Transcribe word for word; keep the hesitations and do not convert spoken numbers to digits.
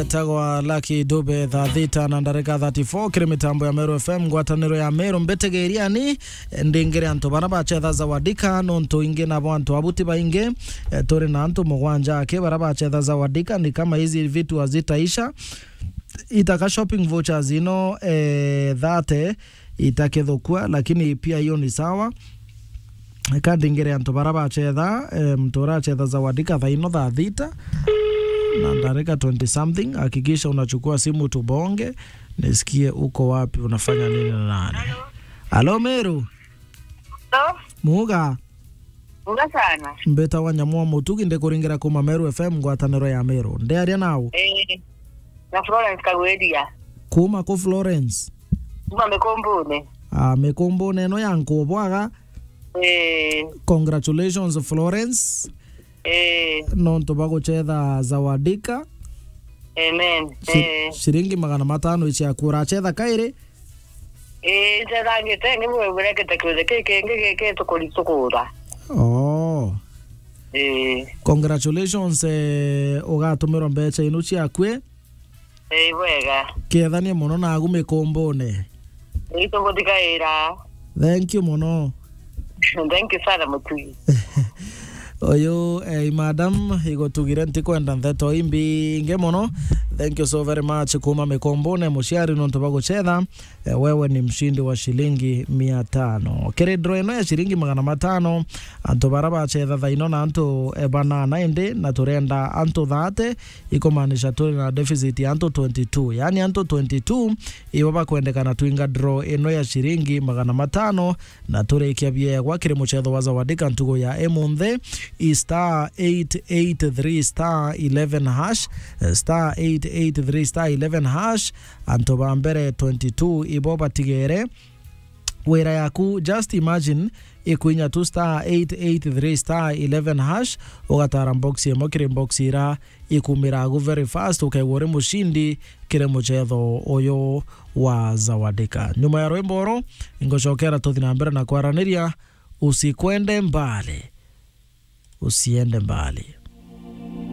Etagwa Lucky Dube, thaa thita na ndarika thirty-four, kiri mitambo ya Meru F M, ngwataniro ya Meru. Mbetegeriani, ndingire antu bara bachetha Zawadika, nontu ingi nabo antu abuti baingi. Eh, turi na antu mugwanja aki bara bachetha Zawadika, ni kama hizi vitu hazitaisha. Itaka shopping vouchers ino, eh, thirty, itakithukua, lakini pia hiyo ni sawa. Eka ndingire antu bara bachetha, eh, mtu urachetha Zawadika thaa ino thaa thita na ndarika twenty something, hakikisha unachukua simu tubonge, nisikie uko wapi, unafanya nini na nani. Alo, Meru? Hello? Muga? Muga sana. Mbeta wa Nyamwa Mutugi, ndikuringira kuma Meru F M, ngwataniro ya Meru. Ndiaria nau? Eh, na Florence Kagweria. Kuma ku Florence? Kuma Mikumbune. Ah, Mikumbune ino ya Nkubwaga. Eh. Congratulations, Florence. Eh. Nontu baguchetha Zawadika. Amen. Shi-, eh, shiringi magana matano iciaku. Urachetha kairi? Eh, nchethangite, ni bwe burekete kiuthi ki kingi giki tukuritugura. Oh. Eh. Congratulations, eh, ugatumirwa mbecha inu ciaku, eh? Ii, bwega. Kethanie mono nagu Mikumbune. Ii, tugutikaira. Thank you mono. Thank you sana, Mutugi. Uyu, eh, madam, igutugire ntikwenda ntheto imbingi mono. Thank you so very much kuma Mikumbune, muciari, nontu bwa guchetha. Eh, wewe ni mshindi wa shilingi mia tano. Kiri draw ino ya shilingi magana matano, antu bara bachetha thaa ino na antu, eh, banana indi, na turenda antu thirty, ikumaanisha turi na deficit ya antu twenty-two. Yaani antu twenty-two ibo bakwendekana twinga draw ino ya shilingi magana matano, na turikia biegwa kiri muchetho wa Zawadika ntugu ya imunthi, i star eight eight three star eleven hash, eh, star eight eight three star eleven hash, antu ba mbere twenty-two ibo batigere. Wira yaku, just imagine, ikwinya tu star eight eight three star eleven hash, ugatara box imwe kiri box ira ikumira agu very fast, ukegwa uri mushindi kiri muchetho uyu wa Zawadika. Nyuma ya rwimbo uru, ngucokera tuthi na mbere na kwaraniria. Usikwende mbali. Usiende mbali.